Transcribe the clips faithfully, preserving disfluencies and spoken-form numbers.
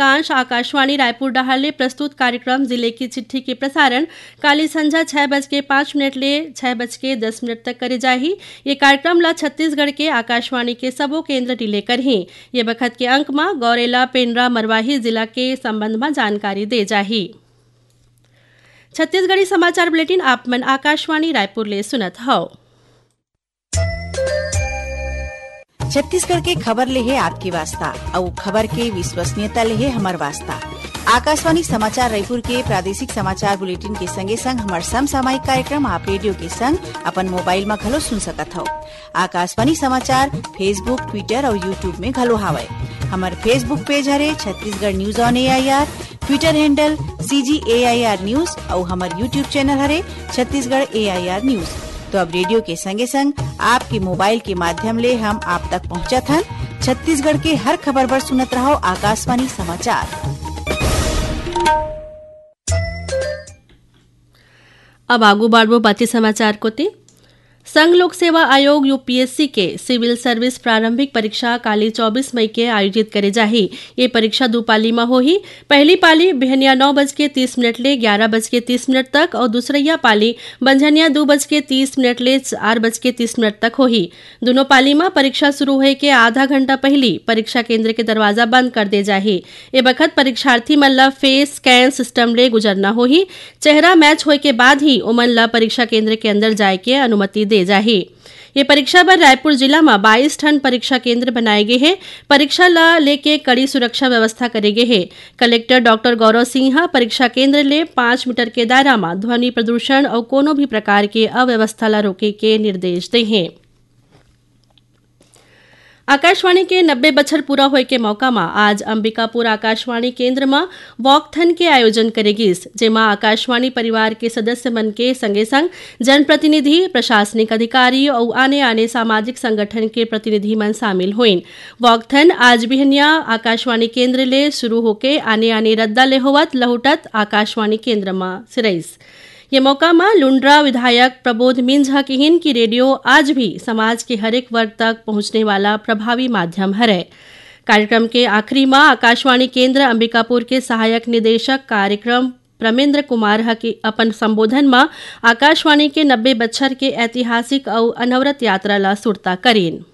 कांश आकाशवाणी रायपुर डहार ले प्रस्तुत कार्यक्रम जिले की चिट्ठी के प्रसारण काली संझा छह बज के पाँच मिनट ले छह बज के दस मिनट तक करे जाही। ये कार्यक्रम ला छत्तीसगढ़ के आकाशवाणी के सबो केंद्र रिले करही। ये बखत के अंक म गौरेला, पेंड्रा, मरवाही जिला के संबंध म जानकारी दे जाही। छत्तीसगढ़ी समाचार बुलेटिन आप मन आकाशवाणी रायपुर ले सुनत हव। छत्तीसगढ़ के खबर ले हे आपके वास्ता, अउ खबर के विश्वसनीयता ले हे हमर वास्ता। आकाशवाणी समाचार रायपुर के प्रादेशिक समाचार बुलेटिन के संगे संग हमर समसामयिक कार्यक्रम आप रेडियो के संग अपन मोबाइल म घलो सुन सकत हव। आकाशवाणी समाचार Facebook, Twitter अउ YouTube में घलो हावय। हमर Facebook पेज हरे Chhattisgarh news on AIR, Twitter handle CG AIR news अउ हमर YouTube चैनल हरे छत्तीसगढ़ एआईआर न्यूज। तो अब रेडियो के संगे संग आपके मोबाइल के माध्यम ले हम आप तक पहुंचत हन। छत्तीसगढ़ के हर खबर बर सुनत रहव आकाशवाणी समाचार। अब आगू बढ़बो बाकी समाचार कोती। संघ लोक सेवा आयोग, यूपीएससी, के सिविल सर्विस प्रारंभिक परीक्षा काली चौबीस मई के आयोजित करे जाही। ये परीक्षा दू पाली म होही। पहली पाली बिहनिया नौ बज के तीस मिनट ले ग्यारह बज के तीस मिनट तक अउ दूसरइया पाली बंझनिया दू बज के तीस मिनट ले चार बज के तीस मिनट तक होही। दुनों पाली म परीक्षा शुरू होए के आधा घंटा पहिली परीक्षा केंद्र के दरवाजा बंद कर दे जाही। ए बखत परीक्षार्थी मन ल फेस स्कैन सिस्टम ले गुजरना होही। चेहरा मैच होए के बाद ही ओमन ल परीक्षा केंद्र के अंदर जाए के अनुमति दे जाही। ये परीक्षा बर रायपुर जिला म बाईस ठन परीक्षा केंद्र बनाए गे हे। परीक्षा ल लेके कड़ी सुरक्षा व्यवस्था करे गे हे। कलेक्टर डॉक्टर गौरव सिंह ह परीक्षा केंद्र ले पाँच मीटर के दायरा म ध्वनि प्रदूषण अउ कोनो भी प्रकार के अव्यवस्था ल रोके के निर्देश दे हे। आकाशवाणी के नब्बे बछर पूरा होए के मौका म आज अंबिकापुर आकाशवाणी केंद्र म वॉकथन के आयोजन करे गिस, जेमा आकाशवाणी परिवार के सदस्य मन के संगे संग जनप्रतिनिधि, प्रशासनिक अधिकारी अउ आने-आने सामाजिक संगठन के प्रतिनिधि मन शामिल होइन। वॉकथन आज बिहनिया आकाशवाणी केंद्र ले शुरू होके आने-आने रद्दा ले होवत लहुटत आकाशवाणी केंद्र म सिरइस। ये मौका म लुंड्रा विधायक प्रबोध मिंज ह किहिन कि रेडियो आज भी समाज के हरेक वर्ग तक पहुंचने वाला प्रभावी माध्यम हरय। कार्यक्रम के आखिरी म आकाशवाणी केंद्र अंबिकापुर के सहायक निदेशक कार्यक्रम प्रमेंद्र कुमार ह के अपन संबोधन म आकाशवाणी के नब्बे बछर के ऐतिहासिक अउ अनवरत यात्रा ल सुरता करिन।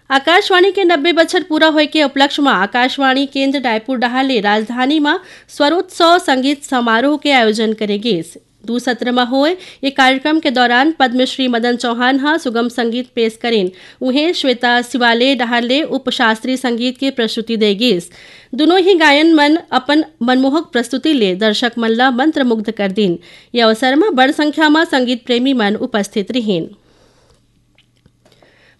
आकाशवाणी के नब्बे बछर पूरा होए के उपलक्ष्य म आकाशवाणी केंद्र रायपुर डहार ले राजधानी म स्वरोत्सव संगीत समारोह के आयोजन करे गिस। दू सत्र म होए ये कार्यक्रम के दौरान पद्मश्री मदन चौहान ह सुगम संगीत पेश करिन। उहें, श्वेता शिवाले डहार ले उपशास्त्रीय संगीत के प्रस्तुति दे गिस। दुनों ही गायन मन अपन मनमोहक प्रस्तुति ले दर्शक मन ल मंत्रमुग्ध कर दिन। ये अवसर म बड़ संख्या म संगीत प्रेमी मन उपस्थित रिहिन।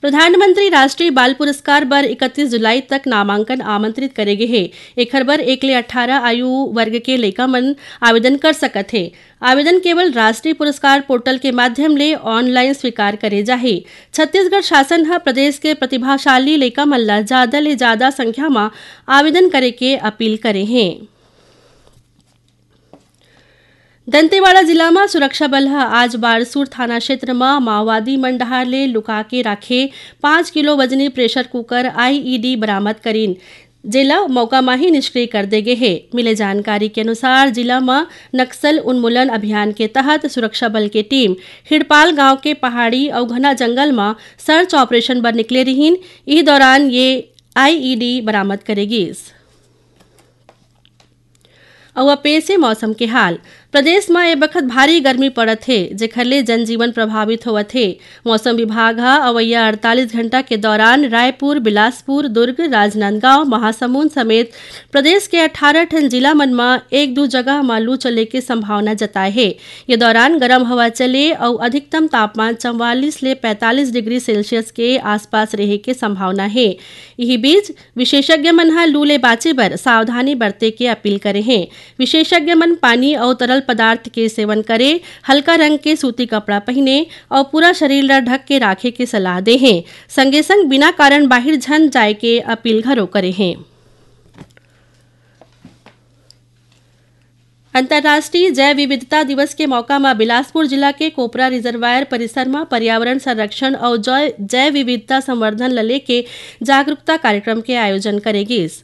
प्रधानमंत्री राष्ट्रीय बाल पुरस्कार बर इकतीस जुलाई तक नामांकन आमंत्रित करे गे हे। एखर बर एक ले अट्ठारह आयु वर्ग के लइका मन आवेदन कर सकत हे। आवेदन केवल राष्ट्रीय पुरस्कार पोर्टल के माध्यम ले ऑनलाइन स्वीकार करे जाही। छत्तीसगढ़ शासन ह प्रदेश के प्रतिभाशाली लइका मन ल जादा ले जादा संख्या म आवेदन करे के अपील करे हे। दंतेवाड़ा जिला म सुरक्षा बल ह आज बारसूर थाना क्षेत्र म माओवादी मन डहार ले लुका के राखे पाँच किलो वजनी प्रेशर कुकर आईईडी बरामद करिन, जेला मौका म ही निष्क्रिय कर दे गे हे। मिले जानकारी के अनुसार, जिला म नक्सल उन्मूलन अभियान के तहत सुरक्षा बल के टीम हिड़पाल गांव के पहाड़ी अउ घना जंगल म सर्च ऑपरेशन बर निकले रिहिन। इही दौरान ये आईईडी बरामद करे गिस। अउ अब पेश हे मौसम के हाल। प्रदेश म ए बखत भारी गर्मी पड़त हे, जेखर ले जनजीवन प्रभावित होवत हे। मौसम विभाग ह अवइया अड़तालीस घंटा के दौरान रायपुर, बिलासपुर, दुर्ग, राजनांदगांव, महासमुंद समेत प्रदेश के अट्ठारह ठन जिला मन म एक दू जगह म लू चले के संभावना जताए हे। ये दौरान गरम हवा चले अउ अधिकतम तापमान चवालीस ले पैंतालीस डिग्री सेल्सियस के आसपास रहे के संभावना हे। इही बीच, विशेषज्ञ मन ह लू ले बांचे बर सावधानी बरते के अपील करे हें। विशेषज्ञ मन पानी अउ तरल पदार्थ के सेवन करे, हल्का रंग के सूती कपड़ा पहिने अउ पूरा शरीर ल ढक के राखे के सलाह दे हें। संगे संग बिना कारण बाहिर झन जाए के अपील घलो करे हें। अंतर्राष्ट्रीय जैव विविधता दिवस के मौका म बिलासपुर जिला के कोपरा रिजर्वायर परिसर म पर्यावरण संरक्षण अउ जै-, जैव विविधता संवर्धन ल लेके जागरूकता कार्यक्रम के आयोजन करे गिस।